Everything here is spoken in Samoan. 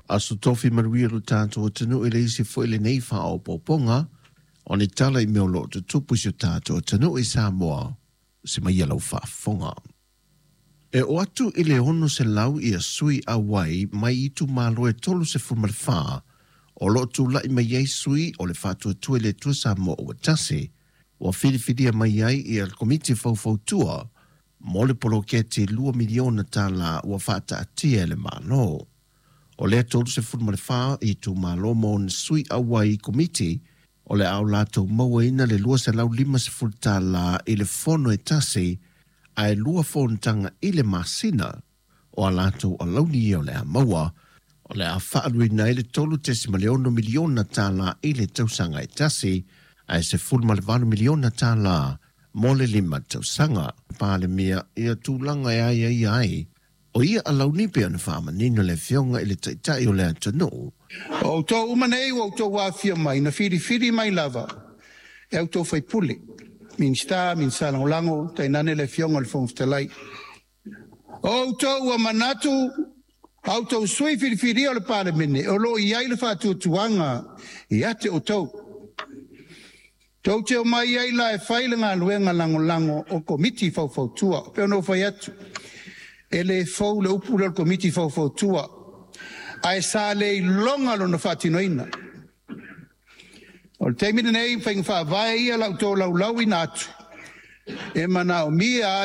Aso Tofi manuia lo tatou atunuu e le isi foi lenei faaopoopoga o ni tala i mea o lo o tutupu i si o tatou atunuu i Samoa se mai lau faafofoga. E oo atu i le 600 ia sui auai mai itumalo e 34 o lo o tulai mai ai sui o le Faatuatua i le Atua Samoa ua Tasi, ua filifilia mai ai ia le Komiti Faufautua mo le poloketi $2 miliona ua faataatia e le Malo. O lea 34 itumalo ma ona sui auai i komiti o le a o latou mauaina le $250 i le fono e tasi ae lua fonotaga i le masina. O a latou alauni ia o le a maua, o le a faaaluina ai le $3.6 miliona i le tausaga e tasi ae $18 miliona mo le 5 tausaga. Palemia ia tulaga e aiaia ai o ia alauni pei ona faamanino le Afioga i le Taitai o le atunuu. O outou uma nei ua outou afifio mai, na filifili mai lava e a outou faipule, Minisita, Minisita Lagolago, tainane le Afioga i le Fofoga Fetalai. O outou ua manatu a outou sui filifilia o le Palemene o lo o i ai le faatuatuaga ia te outou. Tou te omai ai la e fai le galuega lagolago o Komiti Faufautua. Pei ona ou fai atu, e le fou le upu lea o le Komiti Faufautua, ae sa le iloga lona faatinoina. O le taimi lenei, faiga faavae ia o le a ou tolaulauina atu, e manaomia